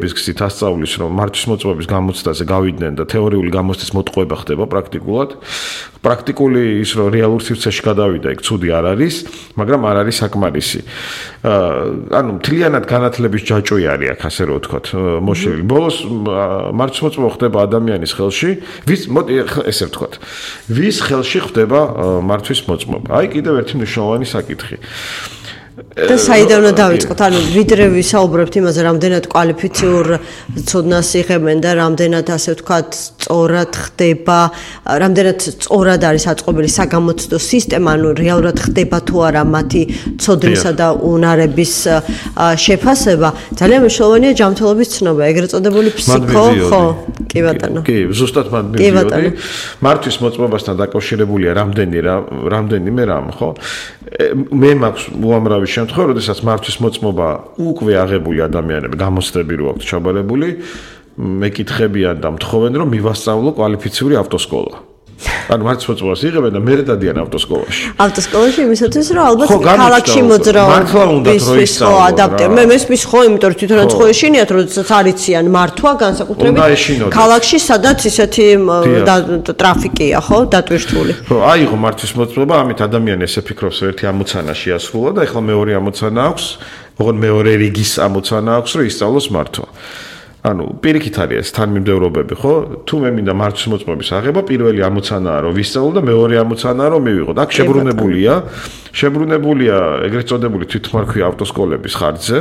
თეორიების გზით ასწავლის, რომ მართვის მოწმობის გამოცდაზე გავიდნენ და თეორიული გამოცდის მოტყუება ხდება პრაქტიკულად. პრაქტიკული ის რომ რეალურ სივრცეში გადავიდა, იქ ცუდი არ არის, მაგრამ არ არის საკმარისი. ანუ მთლიანად განათლების ჯაჭვი არის აქ, ასე რომ ვთქვათ, მოშლილი. ბოლოს მართვის მოწმობა ხდება ადამიანის ხელში, ესე ვთქვათ, ვის ხელში ხდება მართვის მოწმობა. აი კიდევ ერთი მნიშვნელოვანი საკითხი. და საიდან უნდა დავიწყოთ? ანუ ვიდრე ვისაუბრებთ იმაზე, რამდენად კვალიფიციურ ცოდნას იღებენ და რამდენად ასე ვთქვათ, სწორად ხდება, რამდენად სწორად არის აწყობილი საგამოცდო სისტემა, ანუ რეალურად ხდება თუ არა მათი ცოდნისა და უნარების შეფასება. ძალიან მნიშვნელოვანია ჯანმრთელობის ცნობა, ეგრეთ წოდებული ფსიქო, ხო? კი ბატონო. კი, ზუსტად მან მივიოდი. მართვის მოწმობასთან დაკავშირებულია რამდენიმე რამ, ხო? მე მაქვს უამრავი შემთხვევა, როდესაც მართვის მოწმობა უკვე აღებული ადამიანები გამოცდები რო აქვთ ჩაბარებული, მეკითხებიან და მთხოვენ რომ მივასწავლო კვალიფიციური ავტოსკოლა. ანუ მართვის მოწმობას იღებენ და მერე დადიან ავტოსკოლაში. ავტოსკოლაში იმისათვის რომ ალბათ ქალაქში მოძრაობის ადაპტერ. მე მესმის ხო, იმიტომ რომ თვითონაც ხო ეშინიათ, როდესაც არიციან მართვა განსაკუთრებით ქალაქში, სადაც ისეთი ტრაფიკია, ხო, დატვირთული. ხო, აიღო მართვის მოწმობა, ამით ადამიანი ესე ფიქრობს, რომ ერთი ამოცანა შეასრულა და ეხლა მეორე ამოცანა აქვს, ოღონდ მეორე რიგის ამოცანა აქვს, რომ ისწავლოს მართვა. ანუ პირიქით არის თანმიმდევრობები, ხო? თუ მე მინდა მართვის მოწმობის აღება, პირველი ამოცანაა რომ ვისწავლო და მეორე ამოცანაა რომ მივიღო. აქ შებრუნებულია ეგრეთ წოდებული თვითმარქვია ავტოსკოლების ხარჯზე,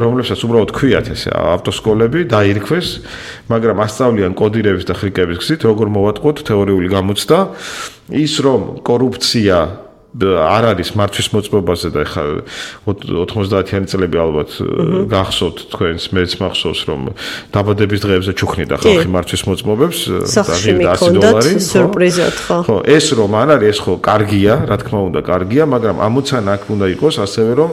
რომლებსაც უბრალოდ ქვიათ ესე ავტოსკოლები დაირქვეს, მაგრამ ასწავლიან კოდირების და ხრიკების გზით, როგორ მოვატყუოთ თეორიული გამოცდა, ის რომ კორუფცია არ არის მართვის მოწმობაზე და ეხლა 90-იანი წლები ალბათ გახსოვთ თქვენს, მეც მახსოვს რომ დაბადების დღეებზე ჩუქნიდა ხალხი მართვის მოწმობებს და ღირდა $100 სიურპრიზად ხო? ხო, ეს რომ არ არის, ეს ხო კარგია, რა თქმა უნდა კარგია, მაგრამ ამოცანა აქ უნდა იყოს ასევე რომ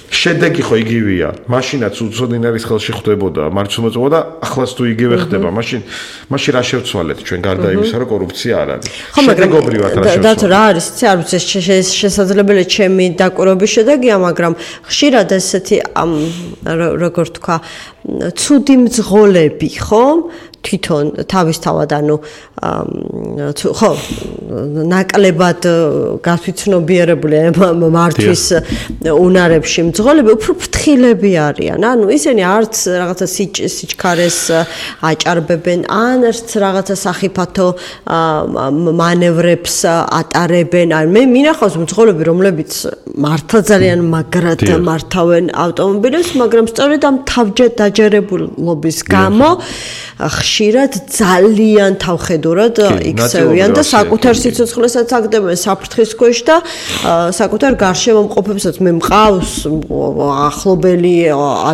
შედეგი ხო იგივეა. მაშინაც უცოდინარის ხელში ხდებოდა მართვის მოწმობა და ახლაც თუ იგივე ხდება, მაშინ რა შევცვალეთ ჩვენ გარდა იმისა რომ კორუფცია არ არის. შედეგობრივად რა შევცვალეთ. და რა არის, არ ვიცი, შესაძლებელია ჩემი დაკვირვების შედეგია, მაგრამ ხშირად ესეთი როგორ თქვა, ცუდი მძღოლები, ხო? თვითონ თავისთავად ანუ ხო ნაკლებად გასვიცნობიერებული მართვის უნარებში მძღოლები უფრო ფრთხილები არიან. ანუ ისინი არც რაღაცა სიჩქარეს აჭარბებენ, ან არც რაღაცა სახიფათო მანევრებს ატარებენ. ან მე მინახავს მძღოლები, რომლებიც მართლა ძალიან მაგრად მართავენ ავტომობილებს, მაგრამ სწორედ ამ თავჯდაჯერებულობის გამო ხშირად ძალიან თავხედურად იქცევიან და საკუთარ სიცოცხლესაც აგდებენ საფრთხის ქვეშ და საკუთარ გარშემომყოფებსაც მე მყავს ახლობელი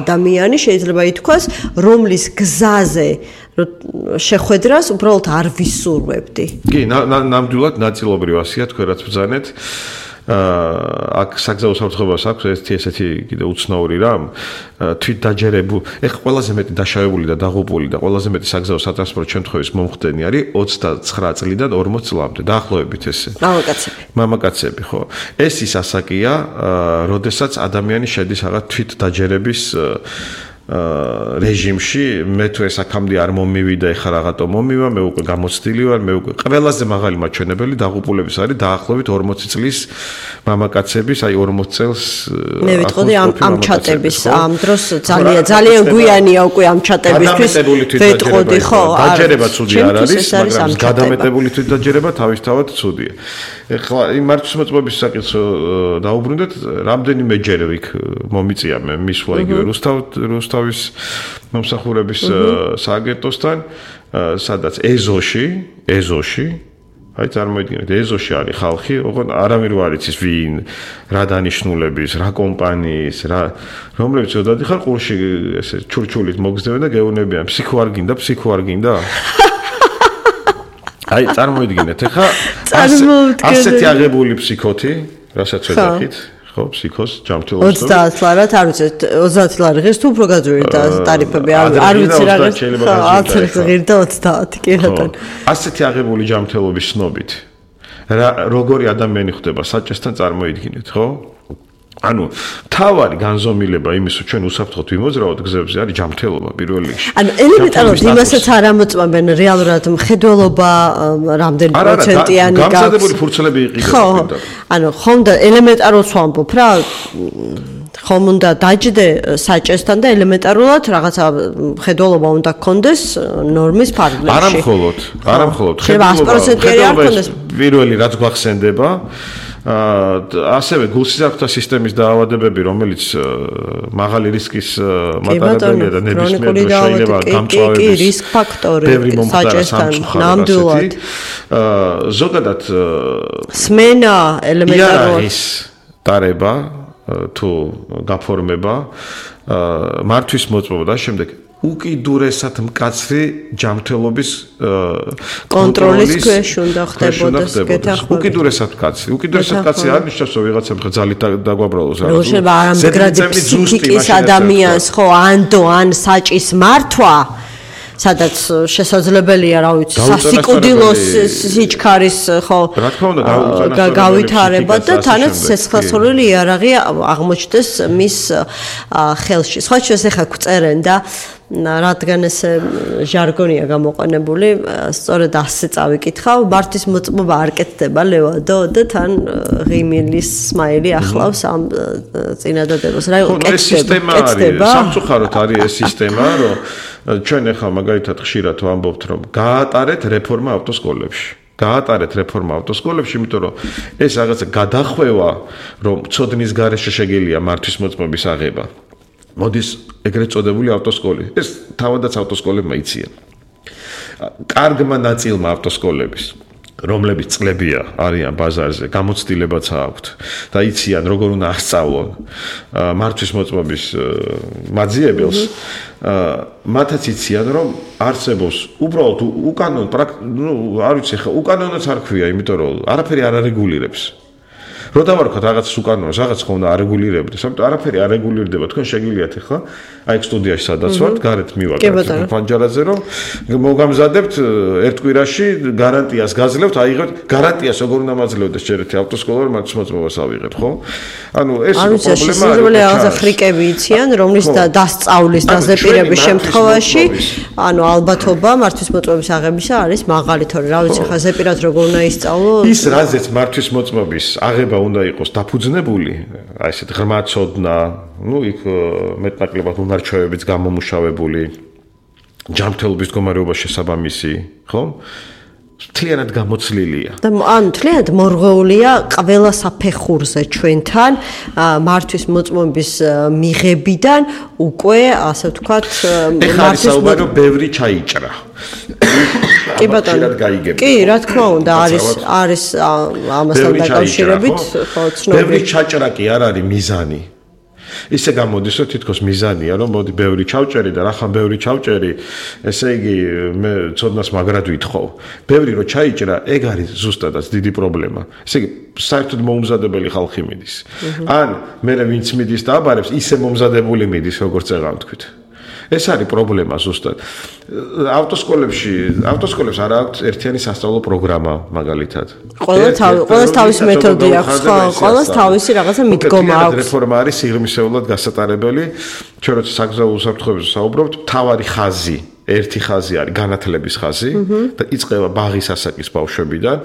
ადამიანი შეიძლება ითქვას, რომლის გზაზე შეხვედრას უბრალოდ არ ვისურვებდი. კი, ნამდვილად ნაწილობრივ ასია თქვენ რაც ბრძანეთ. აქ საგზაო საფრთხებას აქვს ესეთი კიდე უცნაური რამ თვით დაჯერებული ეხ ყველაზე მეტი დაშავებული და დაღუპული და ყველაზე მეტი საგზაო სატრანსპორტო შემთხვევის მომხდენი არის 29 წლიდან 40 წლამდე დაახლოებით ესე მამაკაცები ხო ეს ის ასაკია როდესაც ადამიანი შედის რაღაც თვით დაჯერების რეჟიმში მე თუ ეს აქამდე არ მომივიდა ეხლა რაღაცა მომივა მე უკვე გამოცდილი ვარ მე უკვე ყველაზე მაღალი მაჩვენებელი დაღუპულების არის დაახლოებით 40 წლის მამაკაცების აი 40 წელს მე ვიტყოდი ამ ჩატების ამ დროს ძალიან გვიანია უკვე ამ ჩატებისთვის ვიტყოდი ხო დაჯერება ცუდი არ არის მაგრამ გადამეტებული თვით დაჯერება თავისთავად ცუდია ეხლა იმ მართვის მოწმობის საკითხს დაუბრუნდეთ რამდენიმეჯერ იქ მომიწია მე მისვლა იგივე რუსთავის მომსახურების სააგენტოსთან სადაც ეზოში აი წარმოიდგინეთ ეზოში არის ხალხი ოღონდ არავინ არ იცის ვინ რა დანიშნულების რა კომპანიის რა რომლებიც დადიხარ ყურში ესე ჩურჩულით მოგზდებენ და გეუბნებიან ფსიქო არ გინდა აი წარმოიდგინეთ ეხა ასეთი აღებული ფსიქოთი რასაც ვეძახით ხო ფსიქოს ჯანმრთელობის 30 ლარად არ ვიცი 30 ლარი ღირს თუ უფრო გაძვირი და ტარიფები არ ვიცი რა ღირდა 30 კი ბატონო ასეთი აღებული ჯანმრთელობის ცნობით რა როგორი ადამიანი ხდება საჭესთან წარმოიდგინეთ ხო ანუ თავარი განზომილება იმის რომ ჩვენ უსაფრთხოდ ვიმოძრავოთ გზებზე არის ჯანმრთელობა პირველ რიგში. ანუ ელემენტარულად იმასაც არ ამოწმებენ რეალურად მხედველობა რამდენი პროცენტიანი გაქვს. გამზადებული ფურცლები იყიდეთ. ანუ ხომ და ელემენტარულად ვამბობ რა ხომ უნდა დაჯდე საჭესთან და ელემენტარულად რაღაცა მხედველობა უნდა გქონდეს ნორმის ფარგლებში. არა მხოლოდ ხედველობა პირველი რაც გვახსენდება ასევე გულსიზარქთა სისტემის დაავადებები, რომელიც მაღალი რისკის მატარებელია და ნებისმიერ დროს შეიძლება გამწვავების რისკ ფაქტორი საჭესთან ნამდვილად ზოგადად სმენა ელემენტარულად დარება თუ გაფორმება მართვის მოწმობა და შემდეგ უკიდურესად მკაცრი ჯანმრთელობის კონტროლის ქვეშ უნდა ხდებოდეს გეთახმებით. უკიდურესად მკაცრი არ ნიშნავს რომ ვიღაცამ ხალხი დაგვაბრალოს რა. შეიძლება არამდგრადი ფსიქიკის ადამიანს ხო ან საჭის მართვა სადაც შესაძლებელია, რა ვიცი, სასიკვდილოს სიჩქარის ხო გავითარება და თანაც სესხლსროლი იარაღი აღმოჩნდეს მის ხელში. სხვა შეს ახლა გვწერენ და რადგან ეს ჟარგონია გამოყენებული, სწორედ ასე წავიკითხავ, მართვის მოწმობა არ კეთდება ლევადო და თან ღიმილის სმაილი ახლავს ამ წინადადებას. რა კეთდება? სამწუხაროდ არის ეს სისტემა, რომ ჩვენ ახლა მაგალითად ხშირად ვამბობთ, რომ გაატარეთ რეფორმა ავტოსკოლებში, იმიტომ რომ ეს რაღაცა გადახვევა, რომ ცოდნის გარეშე შეგიძლია მართვის მოწმობის აღება. მოდის ეგრეთ წოდებული ავტოსკოლი. ეს თავადაც ავტოსკოლებმა იციან. კარგმა ნაწილმა ავტოსკოლების, რომლებიც წლებია არიან ბაზარზე, გამოცდილებაც აქვთ და იციან როგორ უნდა აღსწავლონ მართვის მოწმობის მაძიებელს, მათაც იციან რომ არსებობს უბრალოდ უკანონო, არ ვიცი ხა, უკანონოც არ ქვია, იმიტომ რომ არაფერი არ არეგულირებს. რო დავარქვათ რაღაცას უკანონოს, რაღაც ხო უნდა არეგულირებდეს, ამიტომ არაფერი არ რეგულირდება. თქვენ შეგიძლიათ ახლა აი სტუდიაში სადაც ვართ, გარეთ მივაკეთებთ ფანჯარაზე, რომ მოგამზადებთ ერთ კვირაში გარანტიას გაძლევთ, აიღებთ გარანტიას როგორ უნდა მაძლევდეს ჯერეთი ავტოსკოლა, რომ მართვის მოწმობას ავიღეთ, ხო? ანუ ეს პრობლემა არის. რაღაცა ხრიკები იციან, რომლის დასწავლის დაზეპირების შემთხვევაში, ანუ ალბათობა მართვის მოწმობის აღებისა არის მაღალი, თორე რა ვიცი, ხა ზეპირად როგორ უნდა ისწავლო? ის რაზეც მართვის მოწმობის აღება უნდა იყოს დაფუძნებული, აი ესეთ ღრმა ცოდნა, იქ მეტნაკლებად უნარჩვევებიც გამომუშავებული, ჯანმრთელობის მდგომარეობა შესაბამისი, ხო? მთლიანად გამოცლილია. და ანუ მთლიანად მორღვეულია ყველა საფეხურზე ჩვენთან მართვის მოწმობის მიღებიდან უკვე ასე ვთქვათ მართვის მოწმობა ბევრი ჩაიჭრა. კი ბატონო. კი, რა თქმა უნდა, არის ამასთან დაკავშირებით, ხო, ცნობილი. ბევრი ჩაჭრა კი არ არის მიზანი. ისე გამოდის, რომ თითქოს მიზანია, რომ მოდი ბევრი ჩავჭერი და რახან ბევრი ჩავჭერი, ესე იგი მე ცოდნას მაგრად ვითხოვ. ბევრი რო ჩაიჭრა, ეგ არის ზუსტადაც დიდი პრობლემა. ესე იგი საერთოდ მოუმზადებელი ხალხი მიდის. ან მე ვინც მიდის და აბარებს, ისე მომზადებული მიდის, როგორც წეღან თქვით. ეს არის პრობლემა ზუსტად. ავტოსკოლებს არ აქვს ერთიანი სასწავლო პროგრამა მაგალითად. ყველას თავისი მეთოდი აქვს, ხო, ყველას თავისი რაღაცა მიდგომა აქვს. რეფორმა არის სიღრმისეულად გასატარებელი. ჩვენ როცა საგზაო უსაფრთხოებაზე საუბრობთ, თავარი ხაზი, ერთი ხაზი არის განათლების ხაზი და იწყება ბაღის ასაკის ბავშვებიდან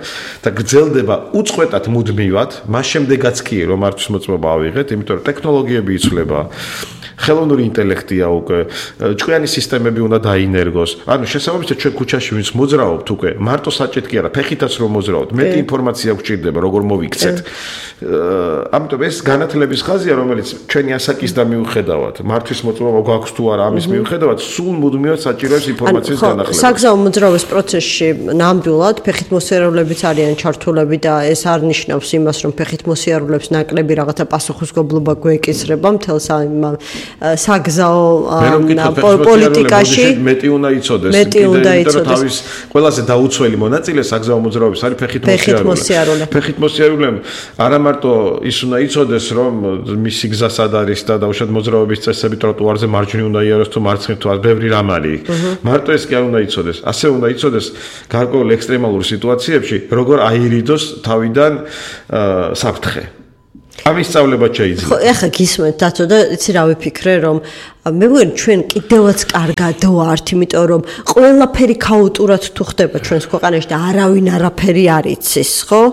და გრძელდება უწყვეტად მუდმივად, მას შემდეგაც კი რომ მართვის მოწმობა ავიღეთ, იმიტომ რომ ტექნოლოგიები იცვლება. ხელოვნური ინტელექტია უკვე, ჭკვიანი სისტემები უნდა დაინერგოს. ანუ შესაბამისად ჩვენ ქუჩაში ვინც მოძრაობთ უკვე, მარტო საჭეთ კი არა, ფეხითაც რომ მოძრაობთ, მეტი ინფორმაცია გვჭირდება, როგორ მოვიქცეთ. ამიტომ ეს განათლების ხაზია, რომელიც ჩვენი ასაკისდა მიუხედავად, მართვის მოწმობა გვაქვს თუ არა, ამის მიუხედავად, სულ მუდმივად საჭიროებს ინფორმაციის განახლებას. საგზაო მოძრაობის პროცესში ნამდვილად ფეხით მოსიარულეებიც არიან ჩართულები და ეს არ ნიშნავს იმას, რომ ფეხით მოსიარულეებს ნაკლები რაღაცა პასუხისმგებლობა გვეკისრება მთელს საგზაო პოლიტიკაში მეტი უნდა იცოდეს. თავის ყველაზე დაუცველი მონაწილე საგზაო მოძრაობის არის ფეხით მოსიარულე. ფეხით მოსიარულე არა მარტო ის უნდა იცოდეს, რომ მისი გზა სად არის და დაუშვათ მოძრაობის წესები ტროტუარზე მარჯვნივ უნდა იაროს თუ მარცხნივ თუ ბევრი რამ არის. მარტო ეს კი არ უნდა იცოდეს. ასე უნდა იცოდეს გარკვეულ ექსტრემალურ სიტუაციებში, როგორ აირიდოს თავიდან საფრთხე. ამის სწავლება შეიძლება. ხო, ეხლა გისმენთ დათო და იცი რა ვიფიქრე, რომ მე მგონი ჩვენ კიდევაც კარგად ვართ, იმიტომ რომ ყველაფერი ქაოტურად თუ ხდება ჩვენს ქვეყანაში და არავინ არაფერი არ იცის, ხო?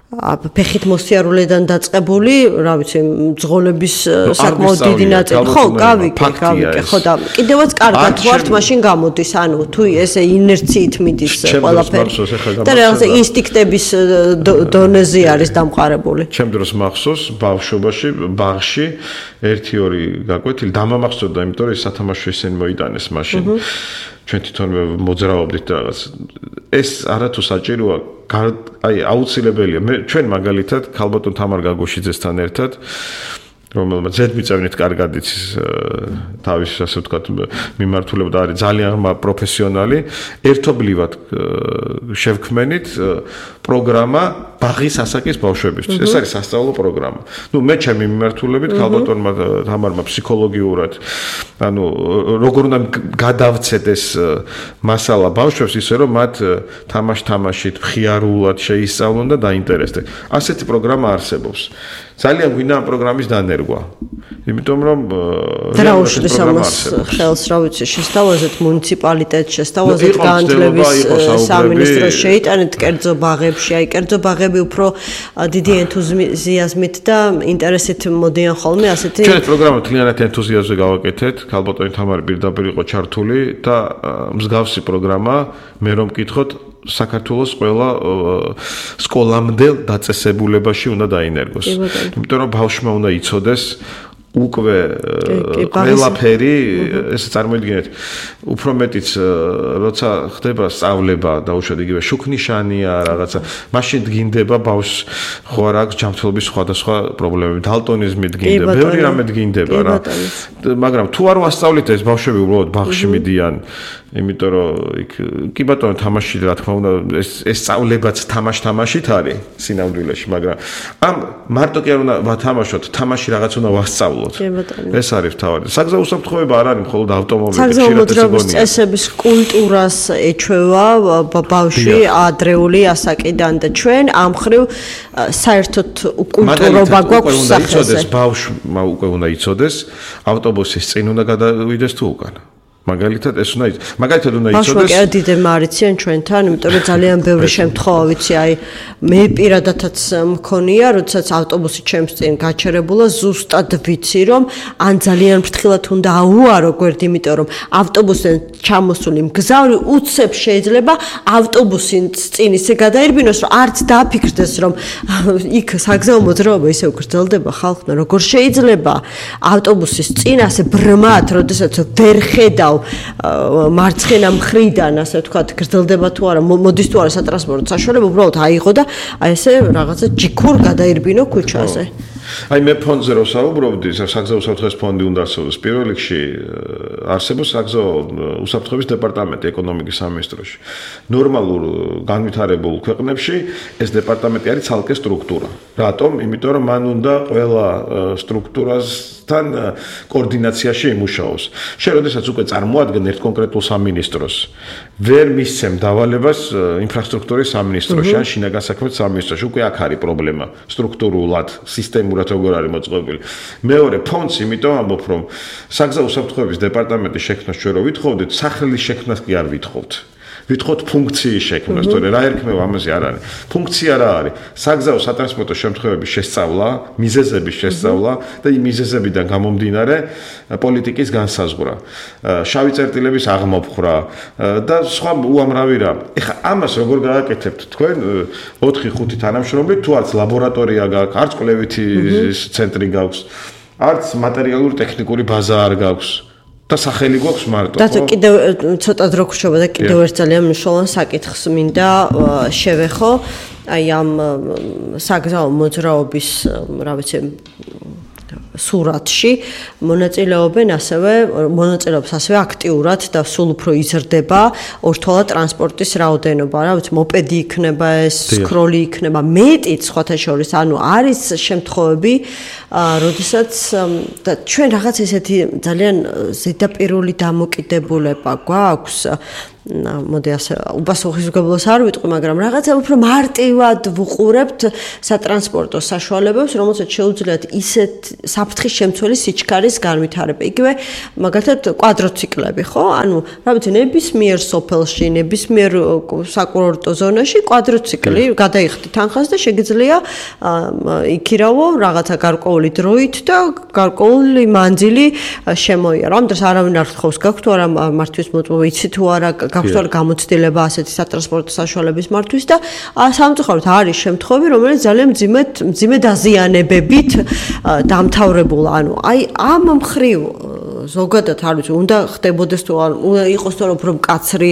ფეხით მოსიარულედან დაწყებული, რა ვიცი, მძღოლების საკმაოდ დიდი ნაწილი. ხო, გავიკე, ხო და კიდევაც კარგად ვართ, მაშინ გამოდის, ანუ თუ ესე ინერციით მიდის ყველაფერი. და რაღაცა ინსტინქტების დონეზე არის დამყარებული. ჩემ დროს მახსოვს ბავშვობაში, ბაღში 1-2 გაკვეთილი დამამახსოვდა, იმიტომ რომ სათამაშო ისინი მოიტანეს მაშინ. ჩვენ თვითონვე მოძრაობდით და რაღაც ეს არათუ საჭიროა აი აუცილებელია ჩვენ მაგალითად ქალბატონ თამარ გაგოშიძესთან ერთად რომელმაც ზედმიწევნით კარგად იცის თავის ასე ვთქვათ მიმართულება და არის ძალიან პროფესიონალი ერთობლივად შევქმენით პროგრამა ბაღის ასაკის ბავშვებისთვის ეს არის სასწავლო პროგრამა ნუ მე ჩემი მიმართულებით ქალბატონმა თამარმა ფსიქოლოგიურად ანუ როგორ უნდა გადავცეთ ეს მასალა ბავშვებს ისე რომ მათ თამაშით მხიარულად შეისწავლონ და დაინტერესდნენ ასეთი პროგრამა არსებობს ძალიან გვინდა ამ პროგრამის დანერგვა. იმიტომ რომ დრაუშლის ამას ხელს რა ვიცი შესთავაზეთ მუნიციპალიტეტს შესთავაზეთ განათლების სამინისტროს შეიტანეთ კერძო ბაღებში, აი კერძო ბაღები უფრო დიდი ენთუზიაზმით და ინტერესით მოდიან ხოლმე ასეთი ჩვენ პროგრამა თლიანად ენთუზიაზმზე გავაკეთეთ, ქალბატონი თამარი პირდაპირ იყო ჩართული და მსგავსი პროგრამა მე რომ მკითხოთ საქართველოს ყველა სკოლამდელ დაწესებულებაში უნდა დაინერგოს. იმიტომ რომ ბავშვმა უნდა იცოდეს უკვე ყველაფერი ესე წარმოიდგინეთ უფრო მეტიც როცა ხდება სწავლება დაუშვათ იგივე შუქნიშანია რაღაცა მაშინ დგინდება ბავშვს ხო არ აქვს ჯანმრთელობის სხვადასხვა პრობლემები დალტონიზმი დგინდება ბევრი რამე დგინდება რა მაგრამ თუ არ ვასწავლით ეს ბავშვები უბრალოდ ბაღში მიდიან იმიტომ რომ იქ კი ბატონო თამაში რა თქმა უნდა ეს სწავლებაც თამაშით არის სინამდვილეში მაგრამ ამ მარტო კი არ უნდა ვათამაშოთ თამაში რაღაც უნდა ვასწავლოთ ეს არის თავი. საგზაო უსაფრთხოება არ არის მხოლოდ ავტომობილი, ხშირად ეს გონია. წესების კულტურას ეჩვევა ბავშვი ადრეული ასაკიდან და ჩვენ ამ ხრივ საერთოდ უკულტურობა გვაქვს სახეზე. ბავშვმა უკვე უნდა იცოდეს, ავტობუსის წინ უნდა გადავიდეს თუ უკან. მაგალითად ეს უნდა მაგალითად უნდა იცოდეს ბავშვები კი დიდებმა არიციან ჩვენთან იმიტომ რომ ძალიან ბევრი შემთხვევა ვიცი აი მე პირადადაც მქონია როდესაც ავტობუსი ჩემს წინ გაჩერებულა ზუსტად ვიცი რომ ან ძალიან ფრთხილად უნდა აუარო გვერდი იმიტომ რომ ავტობუსიდან ჩამოსული მგზავრი უცებ შეიძლება ავტობუსის წინ ისე გადაირბინოს რომ არც დააფიქრდეს რომ იქ საგზაო მოძრაობა ისე გრძელდება ხალხმა როგორ შეიძლება ავტობუსის წინ ასე ბრმად როდესაც ვერ ხედავ მარცხენა მხრიდან ასე ვთქვათ გრძელდება თუ არა მოდის თუ არა სატრანსპორტო საშუალება უბრალოდ აიღო და აი ესე რაღაცა ჯიქურ გადაირბინო ქუჩაზე აი მე ფონდზე რო საუბრობდი საგზაო უსაფრთხოების ფონდი უნდა არსებობს პირველ რიგში არსებობს საგზაო უსაფრთხოების დეპარტამენტი ეკონომიკის სამინისტროში ნორმალურ განვითარებულ ქვეყნებში ეს დეპარტამენტი არის ცალკე სტრუქტურა რატომ იმიტომ რომ მან უნდა ყველა სტრუქტურასთან კოორდინაციაში იმუშაოს შენ როდესაც უკვე წარმოადგენ ერთ კონკრეტულ სამინისტროს ვერ მისცემ დავალებას ინფრასტრუქტურის სამინისტროში ან შინაგან საქმეთა სამინისტროში უკვე აქ არის პრობლემა სტრუქტურულად სისტემურად როგორ არის მოწყობილი მეორე ფონდს იმიტომ ამბობ რომ საგზაო უსაფრთხოების დეპარტამენტის შექმნას ჩვენ რო ვითხოვდით სახლის შექმნას კი არ ვითხოვთ ვითხოვთ ფუნქციის შექმნას თორე რა ერქმევა ამაზე არ არის ფუნქცია რა არის საგზაო სატრანსპორტო შემთხვევების შესწავლა მიზეზების შესწავლა და იმ მიზეზებიდან გამომდინარე პოლიტიკის განსაზღვრა შავი წერტილების აღმოფხვრა და სხვა უამრავი რამ ეხლა ამას როგორ გააკეთებთ თქვენ 4-5 თანამშრომლით თუ არც ლაბორატორია გაქვს არც კვლევითი ცენტრი გაქვს არც მატერიალური ტექნიკური ბაზა არ გაქვს და სახელი გვაქვს მარტო. და კიდევ ცოტა დრო გრჩება და კიდევ ერთ ძალიან მნიშვნელოვან საკითხს მინდა შევეხო. აი ამ საგზაო მოძრაობის, რა ვიცი, სურათში მონაწილეობენ მონაწილეობს ასევე აქტიურად და სულ უფრო იზრდება ორთვალა ტრანსპორტის რაოდენობა, რა ვიცი, მოპედი იქნება ეს, სკროლი იქნება, მეტიც სხვათა შორის, ანუ არის შემთხვევები, როდესაც და ჩვენ რაღაც ესეთი ძალიან ზედაპირული დამოკიდებულება გვაქვს მოდი ასე უპასუხისმგებლობას არ ვიტყვი, მაგრამ რაღაცა უფრო მარტივად ვუყურებთ სატრანსპორტო საშუალებებს, რომელსაც შეუძლიათ ისეთ საფრთხის შემცველი სიჩქარის განვითარება. იგივე მაგალითად კვადროციკლები, ხო? ანუ რა ვიცი, ნებისმიერ სოფელში, ნებისმიერ საკურორტო ზონაში კვადროციკლი გადაიხდით თანხას და შეგიძლია იქირავო რაღაცა გარკვეული დროით და გარკვეული მანძილი შემოიარო. ამ დროს არავინ არ ხავს გაქვთ თუ არა მართვის მოწმობა, იცი თუ არა გაქვთ თუ არა გამოცდილება ასეთი სატრანსპორტო საშუალების მართვის და სამწუხაროდ არის შემთხვევები, რომელიც ძალიან მძიმე დაზიანებებით დამთავრებულა. ანუ აი ამ მხრივ ზოგადად არ ვიცი, უნდა ხდებოდეს თუ არ იყოს თუ არა უფრო მკაცრი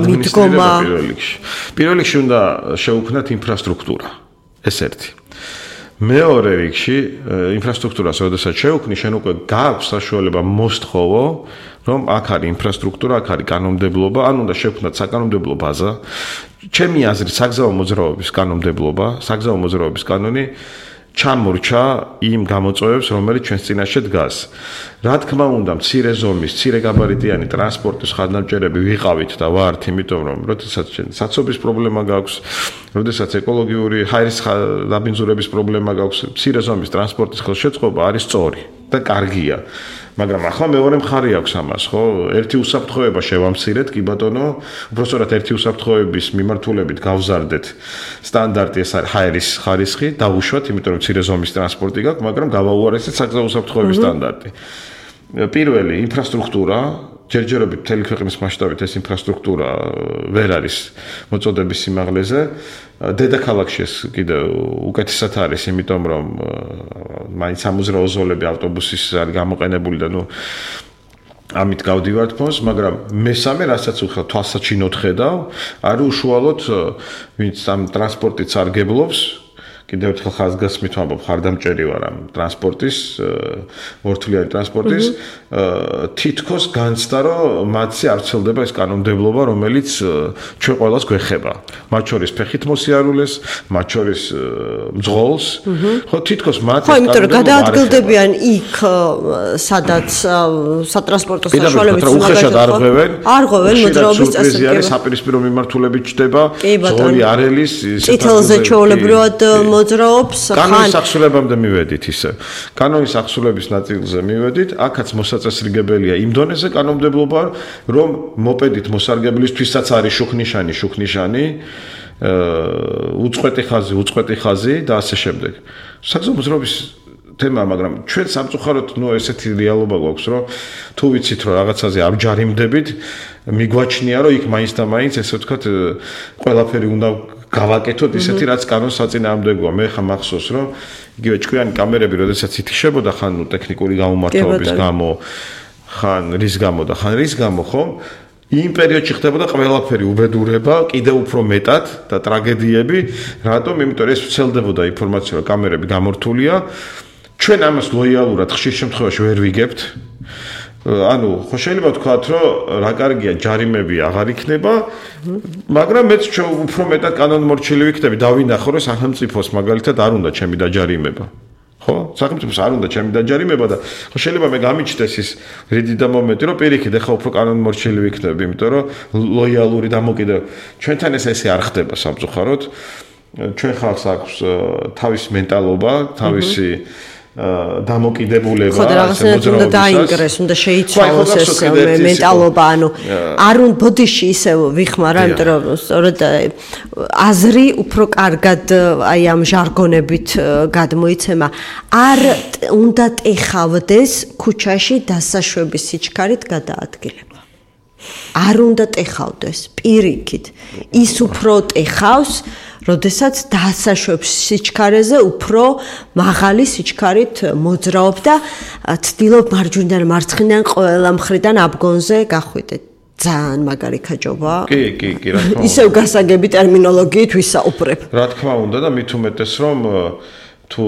მიდგომა. პირველ რიგში უნდა შეუქმნათ ინფრასტრუქტურა. ეს ერთი. მეორე რიგში ინფრასტრუქტურას როდესაც შევქმნი, შენ უკვე გააქვს საშუალება მოსთხოვო, რომ აქ არის ინფრასტრუქტურა, აქ არის კანონმდებლობა, ან უნდა შევქმნათ საკანონმდებლო ბაზა. ჩემი აზრით, საგზაო მოძრაობის კანონმდებლობა, საგზაო მოძრაობის კანონი ჩამორჩა იმ გამოწვევებს, რომელიც ჩვენს წინაშე დგას. რა თქმა უნდა, მცირე ზომის, მცირე გაბარიტიანი ტრანსპორტის ხარდამჭერები ვიყავით და ვართ, იმიტომ რომ როდესაც საცობის პრობლემა გაქვს, როდესაც ეკოლოგიური ჰაერის დაბინძურების პრობლემა გაქვს, მცირე ზომის ტრანსპორტის ხელშეწყობა არის სწორი და კარგია. მაგრამ ახლა მეორე მხარე აქვს ამას, ხო? ერთი უსაფრთხოება შევამცირეთ, კი ბატონო, უბრალოდ ერთი უსაფრთხოების მიმართულებით გავზარდეთ სტანდარტი, ეს არის ჰაერის ხარისხი, დავუშვათ, იმიტომ რომ მცირე ზომის ტრანსპორტი გაქვს, მაგრამ გავაუარესეთ საგზაო უსაფრთხოების სტანდარტი. პირველი ინფრასტრუქტურა, ჯერჯერობით მთელი ქვეყნის მასშტაბით ეს ინფრასტრუქტურა ვერ არის მოწოდების სიმაღლეზე. დედაქალაქში ეს კიდევ უკეთესად არის, იმიტომ რომ მაინც სამოძრაო ზოლები ავტობუსის არის გამოყენებული და ამით გავდივართ ფონს, მაგრამ მესამე, რასაც უხელ თვალსაჩინოდ ხედავ, არის უშუალოდ ვინც ამ ტრანსპორტით სარგებლობს. კიდევ ერთხელ ხაზგასმით ვამბობ, ხარდამჭერი ვარ ამ ტრანსპორტის, მორთულიანი ტრანსპორტის, თითქოს განცდა, რომ მათზე არ ვრცელდება ეს კანონმდებლობა, რომელიც ჩვენ ყველას გვეხება. მათ შორის ფეხით მოსიარულეს, მათ შორის მძღოლს, ხო, თითქოს მათ ხო, იმიტომ რომ გადაადგილდებიან იქ, სადაც სატრანსპორტო საშუალებიც უხეშად არღვევენ მოძრაობის წესრიგები. საპირისპირო მიმართულებით ჩდება, ზოლი არელის, წითელზე ჩვეულებრივად მოძრაობს. კანონის აღსრულებამდე მივედით ისე. კანონის აღსრულების ნაწილზე მივედით, აქაც მოსაწესრიგებელია იმ დონეზე კანონმდებლობა, რომ მოპედით მოსარგებლისთვისაც არის შუქნიშანი, უწყვეტი ხაზი და ასე შემდეგ. საგზაო მოძრაობის თემა, მაგრამ ჩვენ სამწუხაროდ ესეთი რეალობა გვაქვს, რომ თუ ვიცით, რომ რაღაცაზე ამჯარიმდებით, მიგვაჩნია, რომ იქ მაინც და მაინც ესე ვთქვათ, ყველაფერი უნდა გავაკეთოთ ისეთი, რაც კანონს საწინააღმდეგოა. მე ხა მახსოვს, რომ იგივე ჭკვიანი კამერები, როდესაც ითიშებოდა, ხან ტექნიკური გამომართვების გამო, ხან რის გამო, ხო? იმ პერიოდში ხდებოდა ყველაფერი უბედურება, კიდევ უფრო მეტად და ტრაგედიები, რატომ? იმიტომ რომ ეს ვრცელდებოდა ინფორმაცია, რომ კამერები გამორთულია. ჩვენ ამას ლოიალურად ხშირ შემთხვევაში ვერ ვიგებთ. ანუ ხო შეიძლება ვთქვათ, რომ რა კარგია ჯარიმები აღარ იქნება, მაგრამ მეც ჩვენ უფრო მეტად კანონმორჩილი ვიქნები, დავინახო, რომ სახელმწიფოს მაგალითად არ უნდა ჩემი დაჯარიმება. ხო? სახელმწიფოს არ უნდა ჩემი დაჯარიმება და ხო შეიძლება მე გამიჩნდეს ის რიდი და მომენტი, რომ პირიქით ახლა უფრო კანონმორჩილი ვიქნები, იმიტომ რომ ლოიალური დამოკიდე ჩვენთან ესე არ ხდება სამწუხაროდ. ჩვენ ხალხს აქვს თავისი მენტალობა, თავისი დამოკიდებულება, ხო და რაღაცნაირად უნდა დაინგრეს, უნდა შეიცვალოს ეს მენტალობა, ანუ არ უნდა ბოდიში ისე ვიხმარა, იმიტომ რომ სწორედ აზრი უფრო კარგად აი ამ ჟარგონებით გადმოიცემა. არ უნდა ტეხავდეს ქუჩაში დასაშვების სიჩქარით გადაადგილება. არ უნდა ტეხავდეს, პირიქით. ის უფრო ტეხავს როდესაც დასაშვებს სიჩქარეზე უფრო მაღალი სიჩქარით მოძრაობს და ცდილობს მარჯვნიდან მარცხნიდან ყველა მხრიდან აბგონზე გახვიდეთ. ძალიან მაგარი ქაჯობა. კი, რა თქმა უნდა. ისევ გასაგები ტერმინოლოგიით ვისაუბრებ. რა თქმა უნდა და მით უმეტეს რომ თუ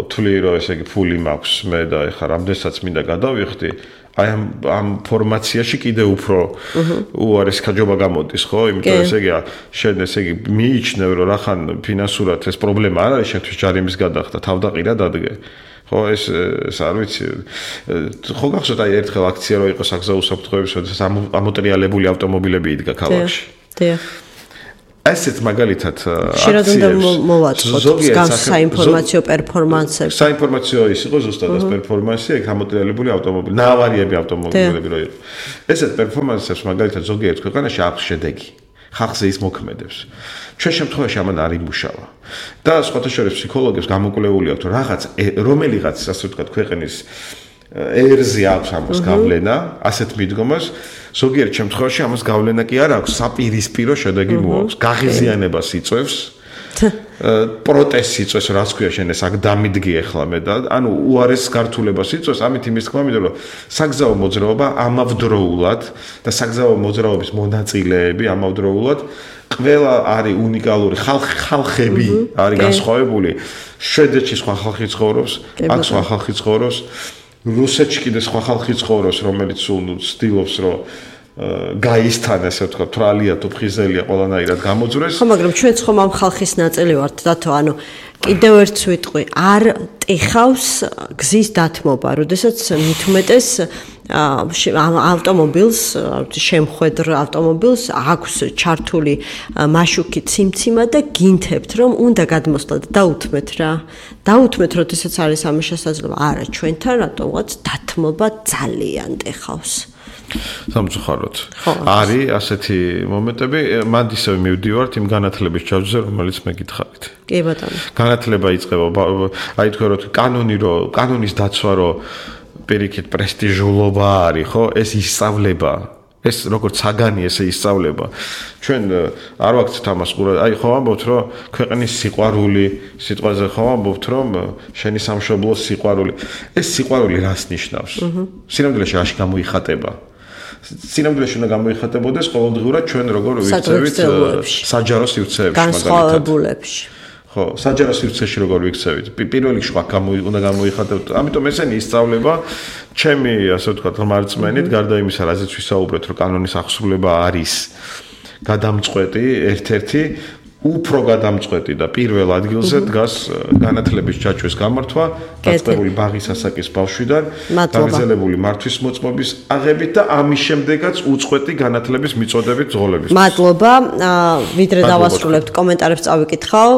თვლი რომ ესე იგი ფული მაქვს მე და ეხლა რამდენსაც მინდა გადავიხდი აი ამ ფორმაციაში კიდე უფრო უარეს ქაჯობა გამოდის, ხო? იმიტომ ესე იგი შენ ესე იგი მიიჩნევ რომ რახან ფინანსურად ეს პრობლემა არ არის, შენთვის ჯარიმის გადახდა, თავდაყირა დადგე. ხო ეს არ ვიცი ხო გახსოვთ აი ერთხელ აქცია რო იყო საგზაო უსაფრთხოების შესაძლებლად ამოტრიალებული ავტომობილები იდგა ქალაქში დიახ ასეთ მაგალითად შეიძლება უნდა მოვაწყოთ საინფორმაციო პერფორმანსები საინფორმაციო ის იყო ზუსტად პერფორმანსი ეგ ამოტრიალებული ავტომობილი ნაავარიები ავტომობილები რო იყო ესეთ პერფორმანსებს მაგალითად ზოგიერთ ქვეყანაში აქვს შედეგი ხალხზე ის მოქმედებს ჩვენ შემთხვევაში ამან არ იმუშავა და სხვათა შორის ფსიქოლოგებს გამოკვლეული აქვს რომ რომელიღაც ასე ვთქვათ ქვეყნის ერზე აქვს ამას გავლენა ასეთ მიდგომას ზოგიერთ შემთხვევაში ამას გავლენა კი არ აქვს საპირისპირო შედეგი მოაქვს გაღიზიანებას იწვევს პროტესტს იწვევს რაც ქვია შენ ეს აქ დამიდგი ახლა მე და ანუ უარეს გართულებას იწვევს ამით იმის თქმა მინდა რომ საგზაო მოძრაობა ამავდროულად და საგზაო მოძრაობის მონაწილეები ამავდროულად ყველა არის უნიკალური ხალხები არის განსხვავებული შვედეთში სხვა ხალხი ცხოვრობს აქ სხვა ხალხი ცხოვრობს რუსეთში კიდე სხვა ხალხი ცხოვრობს რომელიც ცდილობს რომ გაისთან ასე ვთქვათ თრალია თუ ფხიზელია ყველანაირად გამოძვრეს ხო მაგრამ ჩვენც ხომ ამ ხალხის ნაწილი ვართ დათო ანუ კიდევ ერთ ვიტყვი არ ტეხავს გზის დათმობა როდესაც მithumetes ავტომობილს შემხედრ ავტომობილს აქვს ჩართული მაშუკი ციმციმა და გინთებთ რომ უნდა გადმოსვლათ დაუთმეთ რა დაუთმეთ როდესაც არის ამის შესაძლებლობა არა ჩვენთან რატომღაც დათმობა ძალიან ტეხავს სამწუხაროდ არის ასეთი მომენტები მან ისევ მივდივართ იმ განათლების ჩავზზე რომელიც მე გითხარით კი ბატონო განათლება იწყება აი თქვენ რომ კანონის დაცვა რომ პირიქით პრესტიჟულობა არის ხო ეს ისწავლება ეს როგორც საგანი ესე ისწავლება ჩვენ არ ვაქცევთ ამას ყურად აი ხო ამბობთ რომ ქვეყნის სიყვარული სიტყვაზე ხო ამბობთ რომ შენი სამშობლო სიყვარული ეს სიყვარული რას ნიშნავს სინამდვილეში რაში გამოიხატება სინამდვილეში უნდა გამოიხატებოდეს ყოველდღიურად ჩვენ როგორ ვიქცევით საჯარო სივრცეებში განსხვავებულებში ხო საჯარო სივრცეში როგორ ვიქცევით პირველ რიგში უნდა გამოიხატებოთ ამიტომ ესენი ისწავლება ჩემი ასე ვთქვათ მარწმენით გარდა იმისა რაზეც ვისაუბრეთ რომ კანონის აღსრულება არის გადამწყვეტი ერთ-ერთი უფრო გადამწყვეტი და პირველ ადგილზე დგას განათლების ჩაჩვის გამართვა დაწყებული ბაღის ასაკის ბავშვიდან გაგრძელებული მართვის მოწმობის აღებით და ამის შემდეგაც უწყვეტი განათლების მიწოდებით ძღოლების მადლობა ვიდრე დავასრულებთ კომენტარებს წავიკითხავ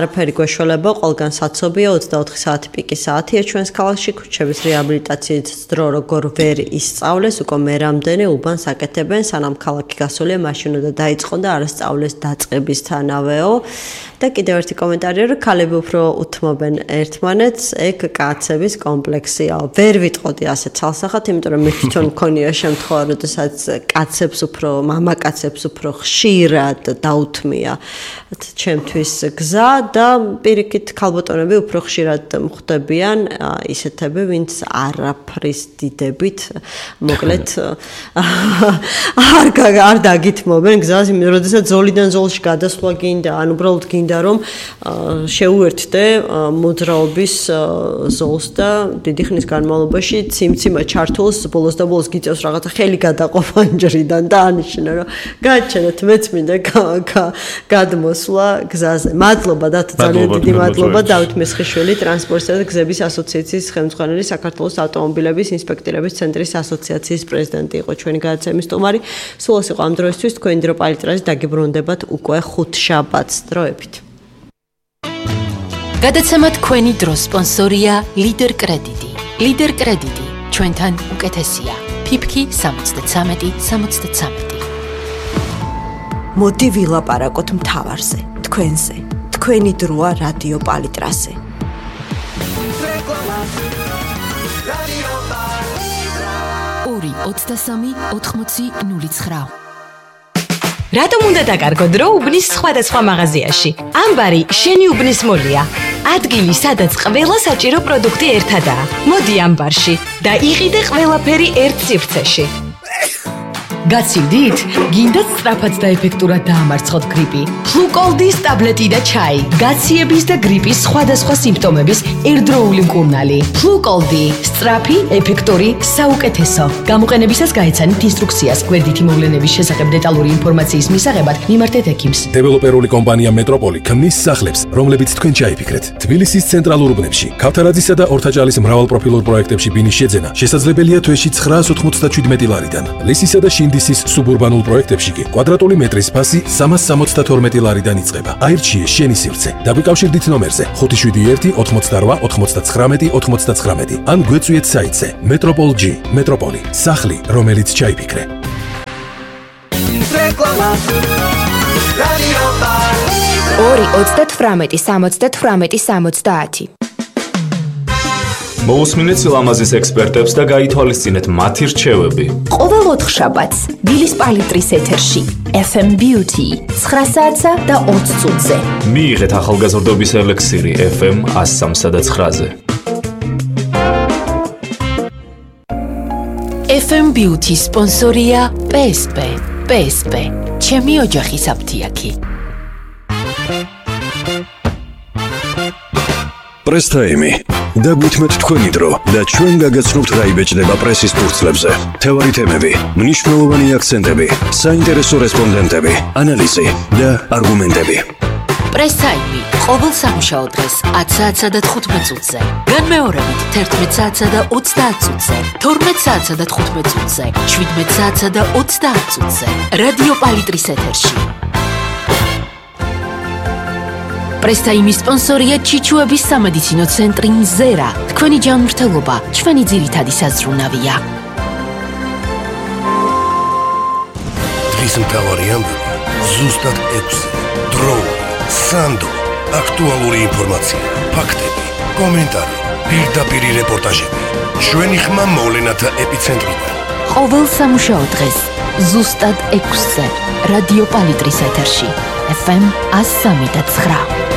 არაფერი გვეშველება ყველგან საცობია 24 საათი პიკი საათია ჩვენს ქალაქში ქუჩების რეაბილიტაციის დრო როგორ ვერ ისწავლეს უკვე მე რამდენი უბანს აკეთებენ სანამ ქალაქი გასულია მაშინ უნდა დაიწყო და არა სწავლეს დაწყებისთან და კიდევ ერთი კომენტარია რომ ქალები უფრო უთმობენ ერთმანეთს ეგ კაცების კომპლექსია ვერ ვიტყოდი ასე ცალსახად იმიტომ რომ მე თვითონ მქონია შემთხვევა როდესაც კაცებს უფრო მამაკაცებს უფრო ხშირად დაუთმია ჩემთვის გზა და პირიქით ქალბატონები უფრო ხშირად მხვდებიან ისეთები ვინც არაფრის დიდებით მოკლედ არ დაგითმობენ გზას იმიტომ როდესაც ზოლიდან ზოლში გადასვლა გინდა ან უბრალოდ გინდა რომ შეუერთდე მოძრაობის ზოლს და დიდი ხნის განმავლობაში ციმციმა ჩართულს ბოლოს და ბოლოს გიწევს რაღაცა ხელი გადაყოფ ანჯრიდან და ანიშნა რომ გაჩენეთ მეც მინდა გადმოსვლა გზაზე მადლობა დათო ძალიან დიდი მადლობა დავით მესხიშვილი ტრანსპორტისა და გზების ასოციაციის ხელმძღვანელი საქართველოს ავტომობილების ინსპექტორების ცენტრის ასოციაციის პრეზიდენტი იყო ჩვენი გადაცემის სტუმარი სულ ეს იყო ამ დროისთვის თქვენი დრო პალიტრაზე დაგიბრუნდებათ უკვე შაბათს დროებით. გადაცემა თქვენი დრო სპონსორია ლიდერ კრედიტი. ლიდერ კრედიტი ჩვენთან უკეთესია. ფიფქი 73-73. მოდი ვილაპარაკოთ მთავარზე, თქვენზე. თქვენი დროა რადიო პალიტრაზე. ორი 23 80 09. რატომ უნდა დაკარგო დრო უბნის სხვადასხვა მაღაზიაში? ამბარი შენი უბნის მოლია. ადგილი, სადაც ყველა საჭირო პროდუქტი ერთადაა. მოდი ამბარში და იყიდე ყველაფერი ერთ სივრცეში. გაცივდით? გინდათ სწრაფად და ეფექტურად დაამარცხოთ გრიპი? ფლუკოლდის ტაბლეტი და ჩაი. გაციების და გრიპის სხვადასხვა სიმპტომების ერთდროული მკურნალი. ფლუკოლდი. სწრაფი, ეფექტური, საუკეთესო. გამოყენებისას გაეცანით ინსტრუქციას. გვერდითი მოვლენების შესახებ დეტალური ინფორმაციის მისაღებად მიმართეთ ექიმს. დეველოპერული კომპანია მეტროპოლი ქმნის სახლებს, რომლებიც თქვენ ჩაიფიქრეთ. თბილისის ცენტრალურ უბნებში, ქავთარაძისა და ორთაჭალის მრავალპროფილურ პროექტებში ბინის შეძენა შესაძლებელია თვეში 997 ლარიდან. ლისისა და შინდისის სუბურბანულ პროექტებში კი კვადრატული მეტრის ფასი 372 ლარიდან იწყება. აირჩიე შენი სივრცე. დაგვიკავშირდით ნომერზე 571 88 99 99 ან გვეწვიეთ საიტზე Metropol.G. მეტროპოლი, სახლი, რომელიც ჩაიფიქრე. რეკლამა. რადიო პალიტრა 2-38-70-70. მოусმინეთ სილამაზის ექსპერტებს და გაითვალისწინეთ მათი რჩევები. ყოველ 4 შაბათს დილის პალიტრის ეთერში FM Beauty 9 საათსა და 20 წუთზე. მიიღეთ ახალგაზრდობის ელექსირი FM 103 და 9-ზე. FM Beauty სპონსორია PSP. PSP. ჩემი ოჯახის აფთიაქი. პრესტაიმი. დაგვითმეთ თქვენი დრო და ჩვენ გაგაცნობთ რა იბეჭდება პრესის ფურცლებზე. თევარი თემები, მნიშვნელოვანი აქცენტები, საინტერესო რესპონდენტები, ანალიზი და არგუმენტები. პრესტაიმი ყოველ სამუშაო დღეს 10 საათსა და 15 წუთზე. განმეორებით 11 საათსა და 30 წუთზე, 12 საათსა და 15 წუთზე, 17 საათსა და 30 წუთზე. რადიო პალიტრის ეთერში. პრესტაიმის სპონსორია ჩიჩუების სამედიცინო ცენტრი ნზერა. თქვენი ჯანმრთელობა, ჩვენი ძირითადი საზრუნავია. დღის მთავარი ამბები ზუსტად 6. დროული, სანდო, აქტუალური ინფორმაცია, ფაქტები, კომენტარი, პირდაპირი რეპორტაჟები. ჩვენი ხმა მოვლენათა ეპიცენტრიდან. ყოველ სამუშაო დღეს ზუსტად 6-ზე რადიო პალიტრის ეთერში FM 103.9.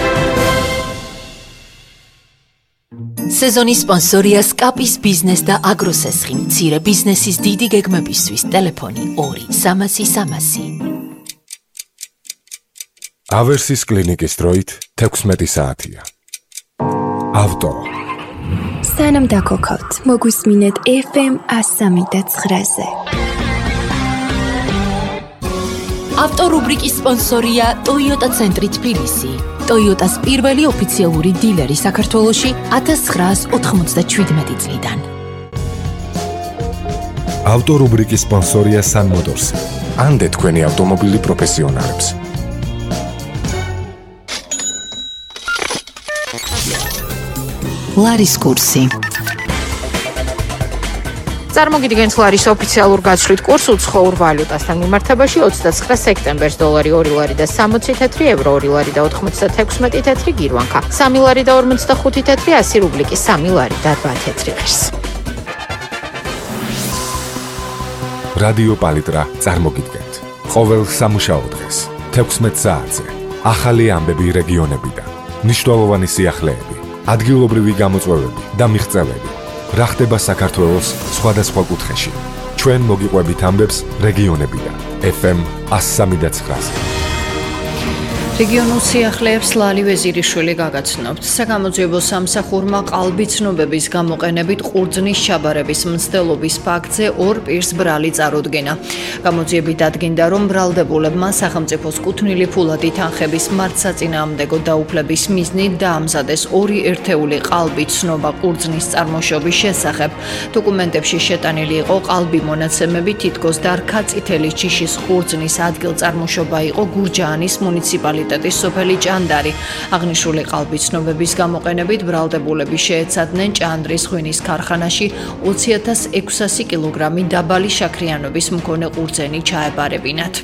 სეზონის სპონსორია სკაპის ბიზნეს და აგროსესხი. მცირე ბიზნესის დიდი გეგმებისთვის ტელეფონი 2-300-300. ავერსის კლინიკის დროით 16 საათია. ავტო. სანამ დაგოქავთ, მოგვისმინეთ FM 103.9-ზე. ავტორუბრიკის სპონსორია Toyota ცენტრი თბილისი. Toyota-s პირველი ოფიციალური დილერი საქართველოში 1997 წლიდან. ავტორუბრიკის სპონსორია Sun Motors. ანდე თქვენი ავტომობილი პროფესიონალებს. ლარის კურსი. წარმოგიდგენთ ლარის ოფიციალურ გაცვლით კურსს უცხოურ ვალუტასთან მიმართებაში 29 სექტემბერს დოლარი 2 ლარი და 60 თეთრი, ევრო 2 ლარი და 96 თეთრი გირვანქა, 3 ლარი და 45 თეთრი, 100 რუბლიკი 3 ლარი და 8 თეთრი ღირს. რადიო პალიტრა წარმოგიდგენთ. ყოველ სამუშაო დღეს 16 საათზე ახალი ამბები რეგიონებიდან, მნიშვნელოვანი სიახლეები, ადგილობრივი გამოწვევები და მიღწევები. რა ხდება საქართველოს სხვადასხვა კუთხეში. ჩვენ მოგიყვებით ამბებს რეგიონებიდან. FM 103.9. რეგიონულ სიახლეებს ლალი ვეზირიშვილი გაგაცნობთ. საგამოძიებო სამსახურმა ყალბი ცნობების გამოყენებით ყურძნის ჩაბარების მცდელობის ფაქტზე 2 პირს ბრალი წარუდგინა. გამოძიებით დადგინდა, რომ ბრალდებულებმა სახელმწიფოს კუთვნილი ფულადი თანხების მართსაწინააღმდეგო დაუფლების მიზნით დაამზადეს 2 ერთეული ყალბი ცნობა ყურძნის წარმოშობის შესახებ. დოკუმენტებში შეტანილი იყო ყალბი მონაცემები, თითქოს დარქა წითელი ჯიშის ყურძნის ადგილწარმოშობა იყო გურჯაანის მუნიციპალიტეტის სოფელი ჭანდარი. აღნიშნული ყალბი ცნობების გამოყენებით ბრალდებულები შეეცადნენ ჭანდრის ღვინის ქარხანაში 20.600 კილოგრამი დაბალი შაქრიანობის მქონე ყურძენი ჩაებარებინათ.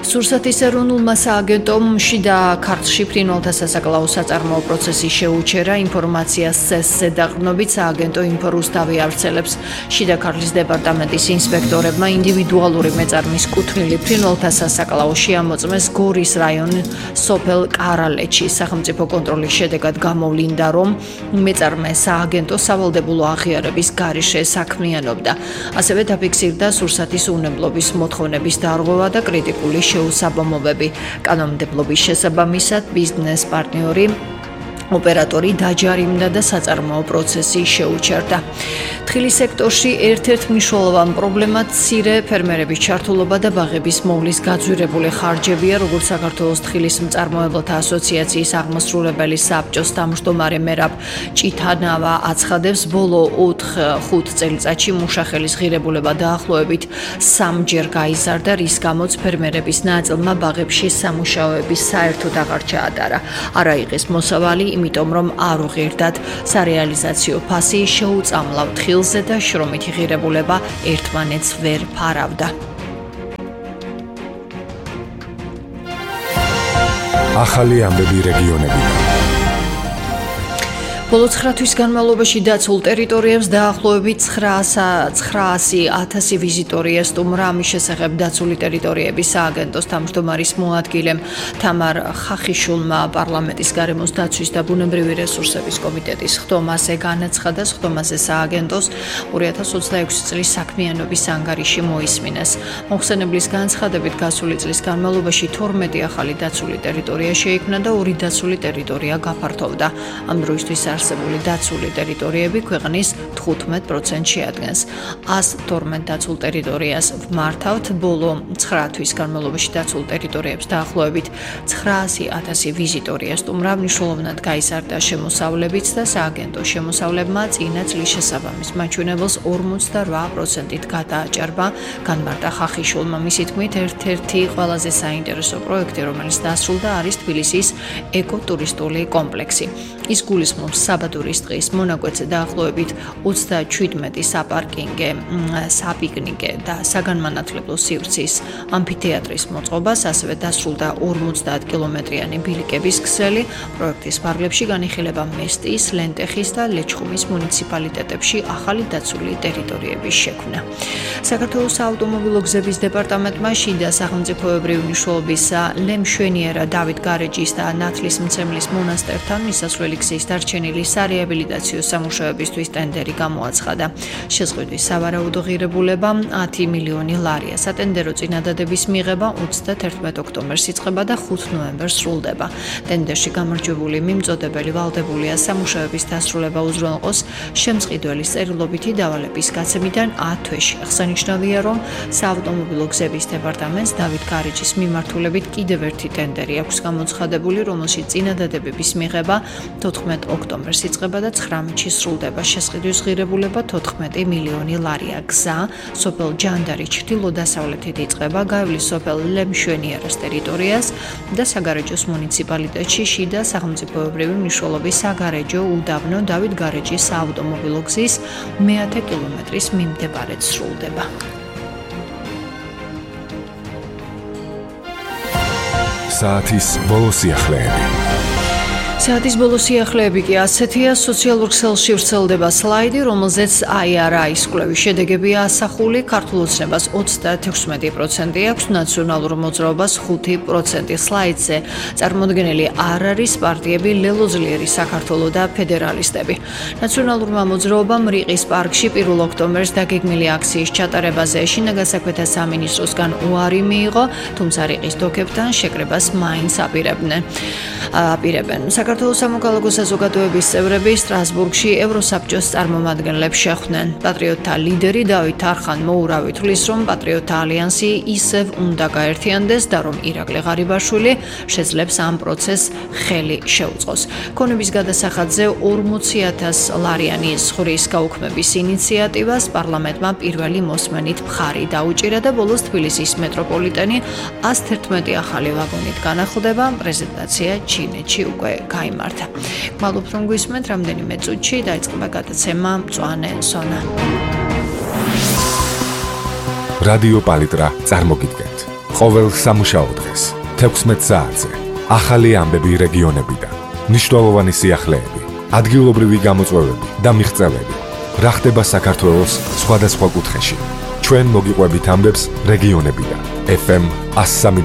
სურსათის ეროვნულმა სააგენტომ შიდა ქართლში ფრინველთა სასაკლაო საწარმოო პროცესის შეუჩერა ინფორმაციას წესზე დაყრდნობით სააგენტო ინფორუსტავი ავრცელებს. შიდა ქართლის დეპარტამენტის ინსპექტორებმა ინდივიდუალური მეწარმის კუთვნილი ფრინველთა სასაკლაო შეამოწმეს გორის რაიონის სოფელ კარალეთში. სახელმწიფო კონტროლის შედეგად გამოვლინდა, რომ მეწარმე სააგენტო სავალდებულო აღიარების გარეშე საქმიანობდა. ასევე დაფიქსირდა სურსათის უნებლობის მოთხოვნების დარღვევა და კრიტიკული შეუსაბამობები. კანონმდებლობის შესაბამისად ბიზნეს პარტნიორი ოპერატორი დაჯარიმდა და საწარმოო პროცესი შეუჩერდა. თხილის სექტორში ერთ-ერთ მნიშვნელოვან პრობლემად მცირე ფერმერების ჩართულობა და ბაღების მოვლის გაძვირებული ხარჯებია, როგორც საქართველოს თხილის მწარმოებლთა ასოციაციის აღმასრულებელი საბჭოს თავმჯდომარე მერაბ ჭითანავა აცხადებს, ბოლო 4-5 წელიწადში მუშახელის ღირებულება დაახლოებით 3-ჯერ გაიზარდა, რის გამოც ფერმერების ნაწილმა ბაღებში სამუშაოების საერთოდ აღარ ჩაატარა. არა იღეს მოსავალი, იმიტომ რომ არ უღირდათ სარეალიზაციო ფასი შეუწამლავ თხილზე და შრომითი ღირებულება ერთმანეთს ვერ ფარავდა. ახალი ამბები რეგიონებიდან. ბოლო 9 თვის განმავლობაში დაცულ ტერიტორიებს დაახლოებით 900,000 ვიზიტორი ესტუმრა. ამის შესახებ დაცული ტერიტორიების სააგენტოს თავმჯდომარის მოადგილემ თამარ ხახიშულმა პარლამენტის გარემოს დაცვის და ბუნებრივი რესურსების კომიტეტის ხდომაზე განაცხადა. ხდომაზე სააგენტოს 2026 წლის საქმიანობის ანგარიში მოისმინეს. მოხსენებლის განცხადებით გასული წლის განმავლობაში 12 ახალი დაცული ტერიტორია შეიქმნა და 2 დაცული ტერიტორია გაფართოვდა. ამ დროისთვის არსებული დაცული ტერიტორიები ქვეყნის 15% შეადგენს. 112 დაცულ ტერიტორიას ვმართავთ. ბოლო 9 თვის განმავლობაში დაცულ ტერიტორიებს დაახლოებით 900,000 ვიზიტორი ესტუმრა. მნიშვნელოვნად გაიზარდა შემოსავლებიც და სააგენტო შემოსავლებმა წინა წლის შესაბამის მაჩვენებელს 48%-ით გადააჭარბა. განმარტა ხახიშულმა. მისი თქმით, ერთ-ერთი ყველაზე საინტერესო პროექტი, რომელიც დასრულდა, არის თბილისის ეკოტურისტული კომპლექსი. ის გულისხმობს საბადურის ტყის მონაკვეთზე დაახლოებით 37 საპარკინგე, საპიკნიკე და საგანმანათლებლო სივრცის ამფითეატრის მოწყობას, ასევე დასრულდა 50 კილომეტრიანი ბილიკების ქსელი. პროექტის ფარგლებში განიხილება მესტიის, ლენტეხის და ლეჩხუმის მუნიციპალიტეტებში ახალი დაცული ტერიტორიების შექმნა. საქართველოს საავტომობილო გზების დეპარტამენტმა შიდა სახელმწიფოებრივი მნიშვნელობისა ლემშვენიერა დავით გარეჯის და ნათლისმცემლის მონასტერთან მისასვლელი გზის დარჩენილი სარეაბილიტაციო სამუშაოებისთვის ტენდერი გამოაცხადა. შეზღუდვის სავარაუდო ღირებულება 10 მილიონი ლარია. სატენდერო წინადადების მიღება 31 ოქტომბერს იწყება და 5 ნოემბერს სრულდება. ტენდერში გამარჯვებული მიმწოდებელი ვალდებულია სამუშაოების დასრულება უზრუნველყოს შემწყიდველის წერილობითი დავალების გაცემიდან 10 თვეში. აღსანიშნავია, რომ საავტომობილო გზების დეპარტამენტს დავით გარეჯის მიმართულებით კიდევ ერთი ტენდერი აქვს გამოცხადებული, რომელშიც წინადადებების მიღება 14 ოქტომბერს იწყება და 19-ში სრულდება. შესყიდვის ღირებულება 14 მილიონი ლარია. გზა სოფელ ჯანდარის ჩრდილო-დასავლეთით იწყება, გაივლის სოფელ ლემშვენიერას ტერიტორიას და საგარეჯოს მუნიციპალიტეტში შიდა სახელმწიფოებრივი მნიშვნელობის საგარეჯო უდაბნო დავით გარეჯის საავტომობილო გზის მე-10 კილომეტრის მიმდებარედ სრულდება. საათის ბოლო სიახლეები. საათის ბოლო სიახლეები კი ასეთია. სოციალურ ქსელში ვრცელდება სლაიდი, რომელზეც IRI-ის კვლევის შედეგებია ასახული. ქართულ ოცნებას 36% აქვს, ნაციონალურ მოძრაობას 5%. სლაიდზე წარმოდგენილი არ არის პარტიები ლელო ძლიერი საქართველო და ფედერალისტები. ნაციონალურმა მოძრაობამ რიყის პარკში 1 ოქტომბერს დაგეგმილი აქციის ჩატარებაზე შინაგან საქმეთა სამინისტროსგან უარი მიიღო, თუმცა რიყის დოქებთან შეკრებას მაინც აპირებენ. საქართველოს სამოქალაქო საზოგადოების წევრები სტრასბურგში ევროსაბჭოს წარმომადგენლებს შეხვდნენ. პატრიოტთა ლიდერი დავით არხან მოურავი თვლის, რომ პატრიოტთა ალიანსი ისევ უნდა გაერთიანდეს და რომ ირაკლი ღარიბაშვილი შეძლებს ამ პროცესს ხელი შეუწყოს. ქონების გადასახადზე 40,000 ლარიანი ზღვრის გაუქმების ინიციატივას პარლამენტმა პირველი მოსმენით მხარი დაუჭირა და ბოლოს თბილისის მეტროპოლიტენი 111 ახალი ვაგონით განახლდება. პრეზენტაცია ჩინეთში უკვე გაიმართა. გმადლობთ, რომ გვისმენთ. რამდენიმე წუთში დაიწყება გადაცემა მწვანე ზონა. რადიო პალიტრა წარმოგიდგენთ ყოველ სამუშაო დღეს 16 საათზე ახალი ამბები რეგიონებიდან, მნიშვნელოვანი სიახლეები, ადგილობრივი გამოწვევები და მიღწევები. რა ხდება საქართველოს სხვადასხვა კუთხეში. ჩვენ მოგიყვებით ამბებს რეგიონებიდან. FM 103